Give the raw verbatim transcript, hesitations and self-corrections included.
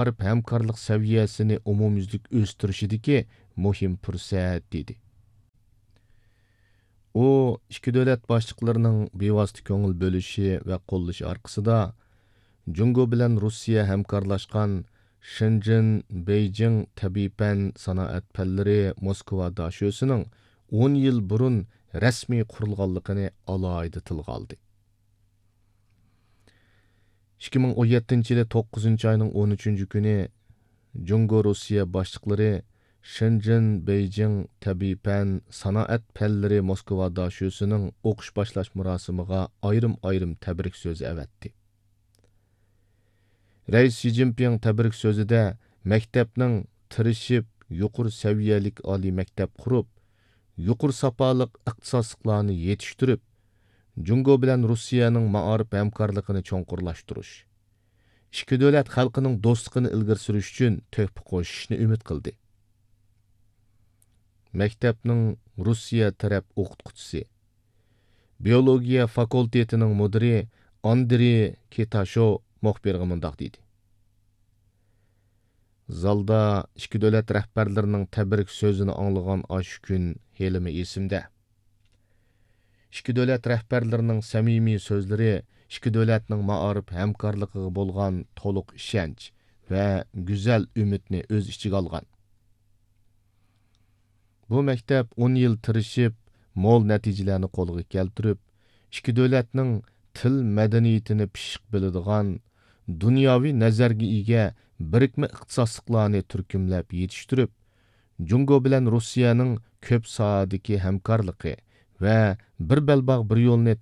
مائارىپ ھەمكارلىق سەۋىيەسىنى ئومۇميۈزلۈك ئۆستۈرۈشىدىكى مۇھىم پۇرسەت، دېدى. ئۇ ئىككى دۆلەت باشلىقلىرىنىڭ بىۋاسىتە كۆڭۈل بۆلۈشى ۋە قوللىشى ئارقىسىدا، جۇڭگو بىلەن روسىيە ھەمكارلاشقان شېنجېن بېيجىڭ تەبىئىي پەن سانائەت پەنلىرى موسكۋا داشۆسىنىڭ ئون يىل بۇرۇن رەسمىي قۇرۇلغانلىقىنى ئالاھىدە تىلغا ئالدى. ئىككى مىڭ ئون يەتتىنچى يىلى توققۇزىنچى ئاينىڭ ئون ئۈچىنچى كۈنى جۇڭگو روسىيە باشلىقلىرى شېنجېن بېيجىڭ تەبىئىي پەن سانائەت پەنلىرى موسكۋا داشۆسىنىڭ ئوقۇش باشلاش مۇراسىمىغا ئايرىم-ئايرىم تەبرىك سۆزى ئەۋەتتى. رەئىس شى جىنپىڭ تەبرىك سۆزىدە مەكتەپنىڭ تىرىشىپ يۇقىرى سەۋىيەلىك ئالىي مەكتەپ قۇرۇپ، يۇقىرى ساپالىق ئىختىساسلىقلارنى يېتىشتۈرۈپ، جۇڭگو بىلەن روسىيەنىڭ مائارىپ ھەمكارلىقىنى چوڭقۇرلاشتۇرۇش، ئىككى دۆلەت خەلقىنىڭ دوستلۇقىنى ئىلگىرى سۈرۈش ئۈچۈن تۆھپە قوشۇشنى ئۈمىد قىلدى. مەكتەپنىڭ روسىيە تەرەپ ئوقۇتقۇچىسى، بىيولوگىيە فاكۇلتېتىنىڭ مۇدىرى ئاندرېي كىتاشو مۇخبىرغا مۇنداق دېدى: زالدا ئىككى دۆلەت رەھبەرلىرىنىڭ تەبرىك سۆزىنى ئاڭلىغان ئاشۇ كۈن ھېلىمۇ ئېسىمدە. ئىككى دۆلەت رەھبەرلىرىنىڭ سەمىمىي سۆزلىرى ئىككى دۆلەتنىڭ مائارىپ ھەمكارلىقىغا بولغان تولۇق ئىشەنچ ۋە گۈزەل ئۈمىدنى ئۆز ئىچىگە ئالغان. بۇ مەكتەپ ئون يىل تىرىشىپ، مول نەتىجىلەرنى قولغا كەلتۈرۈپ، ئىككى دۆلەتنىڭ تىل مەدەنىيىتىنى پىششىق بىلىدىغان، دۇنياۋى نەزەرگە ئىگە بىرىكمە ئىختىساسلىقلارنى تۈركۈملەپ يېتىشتۈرۈپ، جۇڭگو بىلەن روسىيەنىڭ كۆپ ساھەدىكى ھەمكارلىقى ۋە بىر بەلباغ بىر يولنى